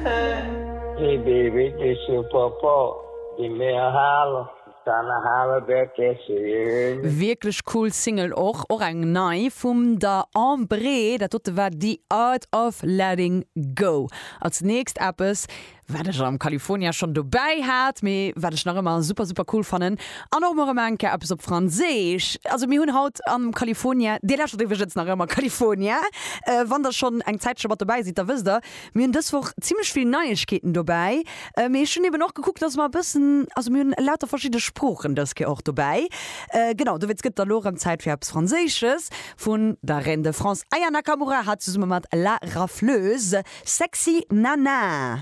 Hey baby, this your papa. Give me a holler, tryna holler back at you, you hear me? Wierklech cool Single och, och eng nei vum der Ambrée, dat dote war The Art of Letting Go. Als nächst eppes wat ech am California schonn dobäi hat, mee wat ech nach ëmmer super super cool fannen an och mol erëm eng Kéier eppes op Franséisch. Also mir hunn haut am California, dir lauschtert iwwregens nach ëmmer California, wann der schonn eng Zäitche mat dobäi sidd, da wësst der, mir hunn dës Woch zimmlech vill Neiegkeeten dobäi, mee ech hunn eben och gekuckt, dass mer e bëssen, also mir hunn lauter verschidde Sproochen dës Kéier och dobäi. Genau, dowéinst gëtt et da lo erëm Zäit fir eppes Franséisches vun der Reine de France Aya Nakamura, hat zesumme mat La Rafleuse. Sexy Nana.